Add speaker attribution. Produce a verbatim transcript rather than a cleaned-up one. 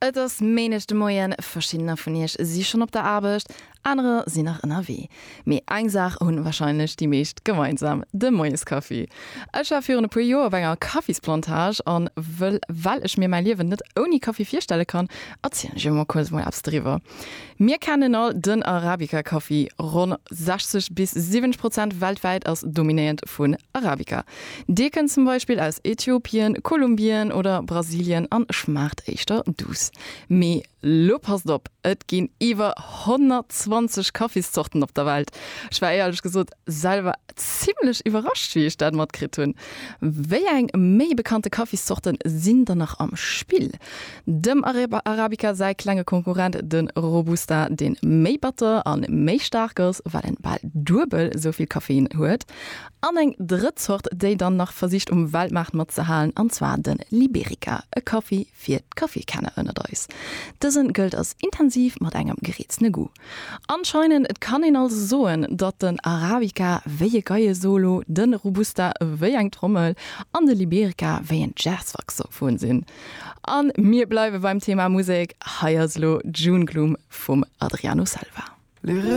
Speaker 1: Et ass Méindeg de Moien, verschiddener vun iech si schonn op der Aarbecht, anerer sinn nach ënnerwee. Mee eng Saach hunn warscheinlech déi meescht gemeinsam, de Moieskaffi. Ech war virun e puer Joer op enger Kaffisplantage an wëll well ech mir mäi Liewen net ouni Kaffi virstelle kann, erzielen ech iech mol kuerz mol eppes driwwer. Mir kennen all den Arabica-Kaffi, ronn sechzeg bis siwwenzeg Prozent weltwäit ass dominéiert vun Arabica. Dee kënnt zum Beispill aus Äthiopien, Kolumbien oder Brasilien an schmaacht éischter duuss. Mee lo passt op, et ginn iwwer honnertzwanzeg Kaffiszorten op der Welt. Ech war éierlech gesot selwer zimmlech iwwerrascht wéi ech dat matkritt hunn. Wéi eng méi bekannte Kaffiszorten sinn dann nach am Spill? Dem Arabica säi klenge Konkurrent de Robusta, deen méi batter an méi staark ass, well en bal duebel esou vill Koffein huet. An eng drëtt Zort, déi dann nach versicht um Weltmaart matzehalen, an zwar de Liberica, e Kaffi fir d'Kaffikenner ënnert eis. Dësen gëllt als intensiv mat engem gereeztene Goût. Anscheinend et kann een also soen, datt den Arabica wéi e Geiesolo, de Robusta wéi eng Trommel an de Liberica wéi en Jazzsaxophon sinn. An mir bleiwe beim Thema Musek, hei ass elo June Gloom vum Adriano Selva.